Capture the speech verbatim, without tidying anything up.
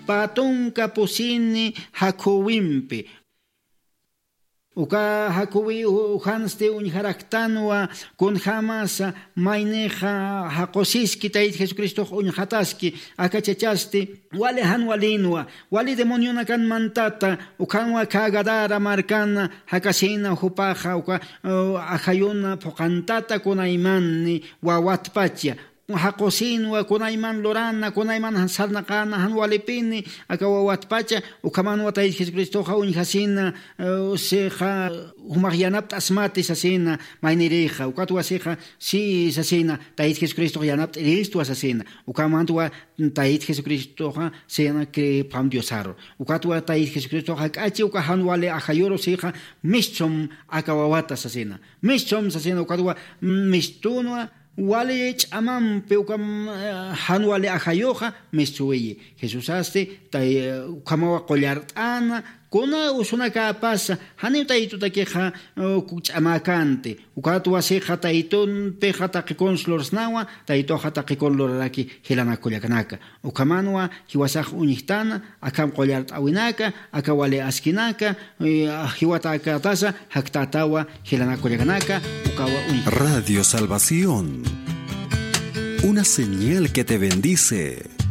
pä tunka pusini jakhuwimpi. Uka jakhuwi ujansti uñjaraktanwa kunjämasa maynixa jaqusiski Tayta Jesucristox uñjataski. Aka chachasti wali jan walinwa, wali demonionakan mantata. Ukhanwa khä Gadara markana jakasina jupaxa uka ajayuna phuqhantata kunaymanni wawatpacha. Jaqusinwa kunayman lurana, kunayman sarnaqana jan walipini aka wawatpacha. Ukhamanwa Tayta Jesucristoxa uñjasina sixa jumax yanapt'asmati sasina maynirixa. Ukatwa sixa si sasina Tayta Jesucristox yanapt'iristwa sasina. Ukhamantwa Tayta Jesucristoxa sina cripxam Diosaru. Ukatwa Tayta Jesucristoxa jak'achi uka jan wali ajayuru sixa mischum aka wawata sasina. Mischum sasina ukatwa mistunwa wali ch'amampi uka jan wali ajayuxa mistuwiyi. Jesusasti ukhamawa qullart'ana kuna usunakäpasa janiw taytutakixa ch'amäkänti. Ukatwa sixa taytunpixa taqikun lursnawa, taytuxa taqikun luraraki jilanak kullakanaka. Ukhamanwa jiwasax uñjtana akham qullart'äwinaka, aka wali askinaka jiwatäkätasa jaktätawa jilanak kullakanaka. Ukawa uñjtana. Radio Salvación, una señal que te bendice.